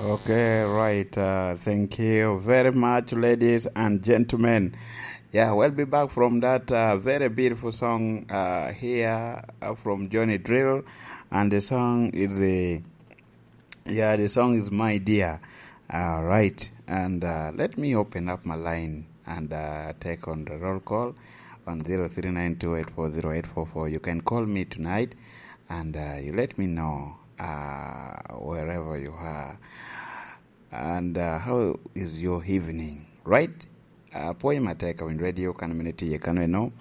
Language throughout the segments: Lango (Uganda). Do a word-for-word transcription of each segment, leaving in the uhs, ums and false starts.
Okay, right. Uh, thank you very much, ladies and gentlemen. Yeah, we'll be back from that uh, very beautiful song uh, here uh, from Johnny Drill, and the song is the yeah, the song is My Dear. All right, and uh, let me open up my line and uh, take on the roll call on zero three nine two eight four zero eight four four. You can call me tonight, and uh, you let me know uh, wherever you are. And uh, how is your evening? Right? Uh, apwoyo matek awiny radio kan mene tiye kano eno.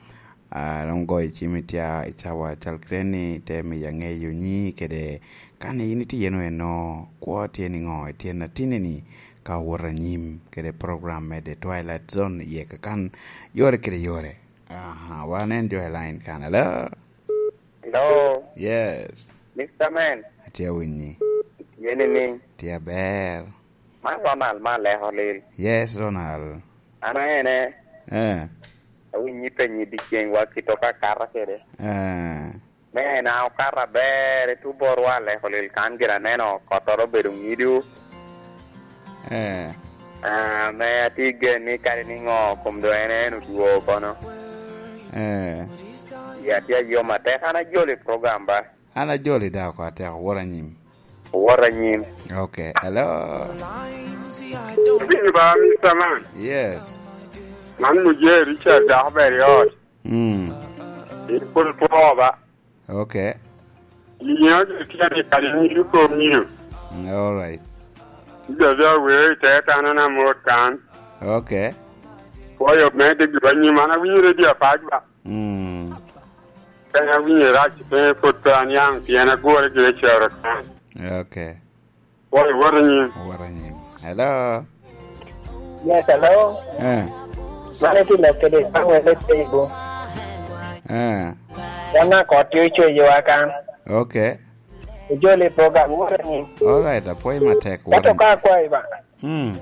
Uh, dong goyo cim i tya i cawa cal kire ni te miya ŋeyo nyi kede kan in itye no eno kwo tye ni ŋo i tyen atinni ni ka wot anyim kede program me The Twilight Zone iye kakan yore kede yore. Aha, wan en jo i line kan. Hello? Hello, Yes. Mister Man. Atye awinyi. Yeni ni, Tye aber. Man Ronald, man leko lil. Yes, Ronald. An aene, Eh. Awinyi penyi diceng wa kito ka kata kede. Eh. Me en a okato aber i tuborwa leko lil kan gin aneno kottoro obedo ngidu. Eh. Ah, me atye gen ni kadi ni ŋo kom do en en odwo kono. Eh. Ya tye ayom atek an ajoli program ba. An ajoli da oko atek owor anyim. Owor anyim. Okay, hello. Bin ba Mister Man. Yes. Man muje Richard dako ber i ot. Mm. In pwod two ba. Okay. Yinyo jo tye ni kadi ni yuko mio. Mm, all right. Ijo jo weo i te tano na mot kan. Okay. Kwoyo me de giba nyim an awinyo radio apac ba. Mm. Kan awinyo rac pe pwod pe aniang pien agure gire cero kan. Okay. Kwoyo woto nyim. Woto nyim. Hello. Yes, hello. Eh. Mano itye lok kede Samuel Etego. Eh. Wan a kot tye ocweyowa kan. Okay. Ojoli program wora ni. All right, apwoyo matek. Ento ka akwayi ba. Hmm.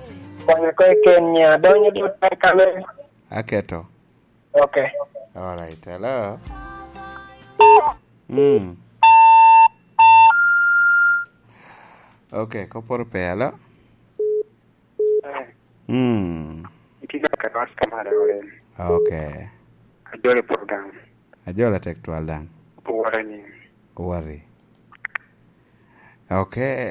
Konya ko eken nya donyo dot kame. Aketo. Okay. All right, hello. Hmm. Okay, koporo pe, hello. Eh, Mm. Itye ka ket was ka mara ore. Okay. Ajolo program. Ajola tek twal daŋ. Owara ni. Owari. Okay.